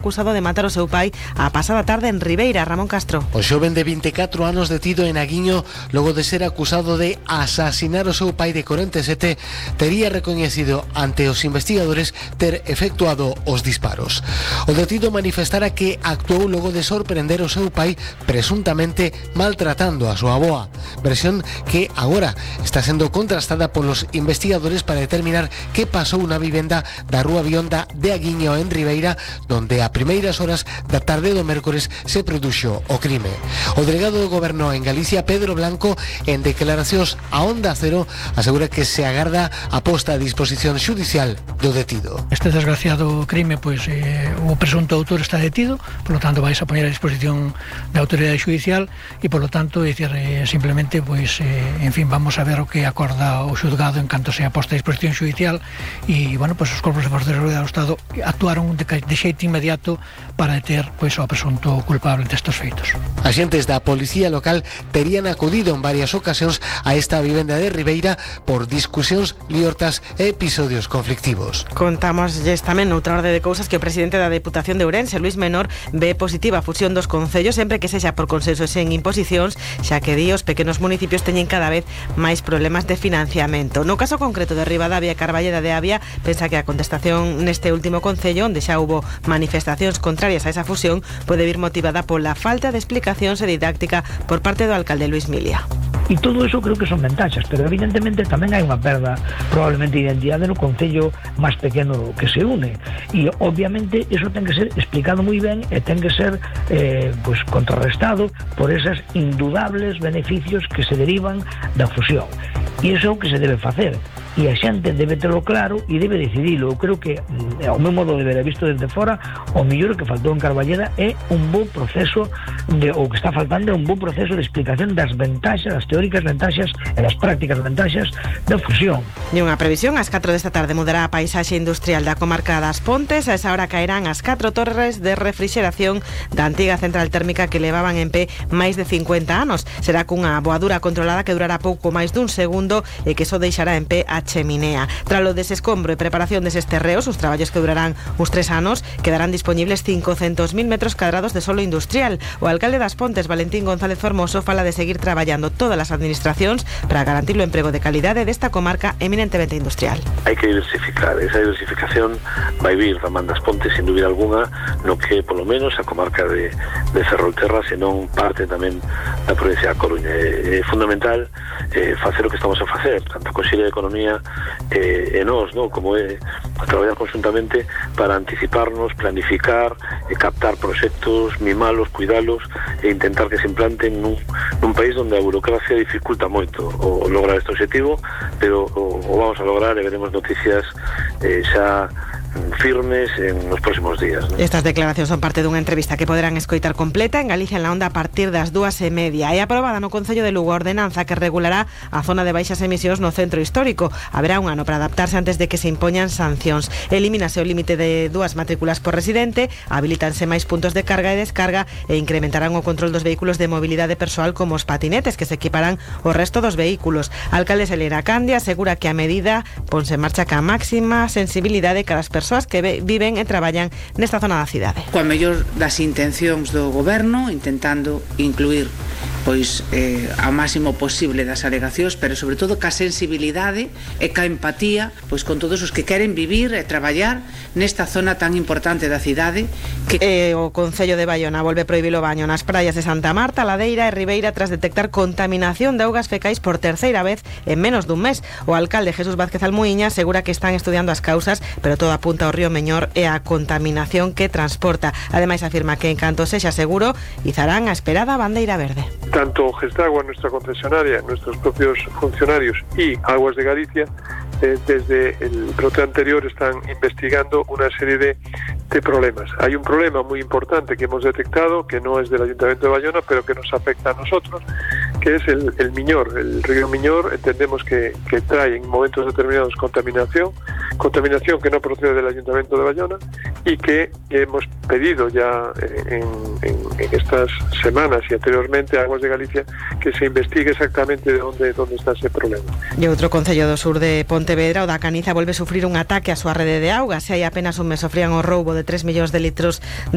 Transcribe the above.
acusado de matar o seu pai a pasada tarde en Ribeira. Ramón Castro. O xoven de 24 anos detido en Aguiño logo de ser acusado de asasinar o seu pai de 47 tería recoñecido ante os investigadores ter efectuado os disparos. O detido manifestara que actuou logo de sorprender o seu pai presuntamente maltratando a súa avoa, versión que agora está sendo contrastada polos investigadores para determinar que pasou na vivenda da Rúa Bionda de Aguiño en Ribeira, donde a primeiras horas da tarde do mércores se produxo o crime. O delegado do Goberno en Galicia, Pedro Blanco, en declaracións a Onda Cero, asegura que se agarda a posta a disposición xudicial do detido. Este desgraciado crime, o presunto autor está detido, por lo tanto vais a poñer a disposición da autoridade xudicial e, por lo tanto, simplemente, en fin, vamos a ver o que acorda o xudgado en canto sea posta a disposición xudicial e, os corpos de forza de seguridade do Estado actuaron de xeito inmediato para deter ao presunto culpable destes feitos. Agentes da Policía Local terían acudido en varias ocasións a esta vivenda de Ribeira por discusións liortas e episodios conflictivos. Contámoslles tamén noutra orde de cousas que o presidente da Deputación de Ourense, Luís Menor, ve positiva a fusión dos concellos sempre que sexa por consenso e sen imposicións, xa que os pequenos municipios teñen cada vez máis problemas de financiamento. No caso concreto de Ribadavia e Carballeda de Avia, pensa que a contestación neste último concello, onde xa hubo manifestacións contrarias a esa fusión, pode vir motivada pola falta de explicacións e didáctica por parte do alcalde Luís Milia. E todo eso creo que son ventaxas, pero evidentemente tamén hai unha perda probablemente de identidade no concello máis pequeno que se une, e obviamente eso ten que ser explicado moi ben e ten que ser contrarrestado por esas indudables beneficios que se derivan da fusión, e iso é o que se debe facer, e a xente debe terlo claro e debe decidilo. Eu creo que, ao meu modo de ver, visto desde fora, o mellor que faltou en Carballeda é un bo proceso o que está faltando é un bo proceso de explicación das ventaxas, das teóricas ventaxas e das prácticas ventaxas da fusión. E unha previsión, ás 4 desta tarde mudará a paisaxe industrial da comarca das Pontes. A esa hora caerán as 4 torres de refrixeración da antiga central térmica que levaban en pé máis de 50 anos. Será cunha boadura controlada que durará pouco máis dun segundo e que só deixará en pé a cheminea. Tralo desescombro e preparación deses terreos, os traballos que durarán uns 3 anos, quedarán disponibles 500.000 metros cuadrados de solo industrial. O alcalde das Pontes, Valentín González Formoso, fala de seguir traballando todas as administracións para garantir o emprego de calidade desta comarca eminentemente industrial. Hai que diversificar, esa diversificación vai vir da man das Pontes, sin dúbida alguna, no que polo menos a comarca de Ferrolterra, senón parte tamén da provincia da Coruña. É fundamental facer o que estamos a facer, tanto a Consellería de Economía e nós, como é a traballar conjuntamente para anticiparnos, planificar, captar proxectos, mimalos, cuidalos e intentar que se implanten nun país onde a burocracia dificulta moito o lograr este objetivo, pero o vamos a lograr e veremos noticias xa firmes en los próximos días, ¿no? Estas declaracións son parte dunha entrevista que poderán escoitar completa en Galicia en la Onda a partir das 2:30. É aprobada no Concello de Lugo a ordenanza que regulará a zona de baixas emisións no centro histórico. Haberá un ano para adaptarse antes de que se impoñan sancións. Elimínase o límite de 2 matrículas por residente, habilitanse máis puntos de carga e descarga e incrementarán o control dos vehículos de mobilidade persoal como os patinetes, que se equiparán ao resto dos vehículos. A alcalde Selena Candia asegura que a medida ponse en marcha ca máxima sensibilidade cara as persoas que viven e traballan nesta zona da cidade. Coa mellor das intencións do goberno, intentando incluir ao máximo posible das alegacións, pero sobre todo ca sensibilidade e ca empatía con todos os que queren vivir e traballar nesta zona tan importante da cidade. O Concello de Baiona volve prohibir o baño nas praias de Santa Marta, Ladeira e Ribeira tras detectar contaminación de augas fecais por terceira vez en menos dun mes. O alcalde Jesús Vázquez Almuíña asegura que están estudiando as causas, pero todo apunta ao río Meñor e a contaminación que transporta. Ademais afirma que en canto sexa seguro izarán a esperada bandeira verde. Tanto Gestagua, nuestra concesionaria, nuestros propios funcionarios y Aguas de Galicia, desde el brote anterior están investigando una serie de problemas. Hay un problema muy importante que hemos detectado, que no es del Ayuntamiento de Bayona, pero que nos afecta a nosotros, que es el Miñor. El río Miñor entendemos que trae en momentos determinados contaminación que no procede del Ayuntamiento de Bayona y que hemos pedido ya en estas semanas y anteriormente a Aguas de Galicia que se investigue exactamente dónde está ese problema. E outro concello do sur de Pontevedra, o da Caniza, volve a sufrir un ataque á súa rede de augas. Se hai apenas un mes sofrían o roubo de 3 millóns de litros de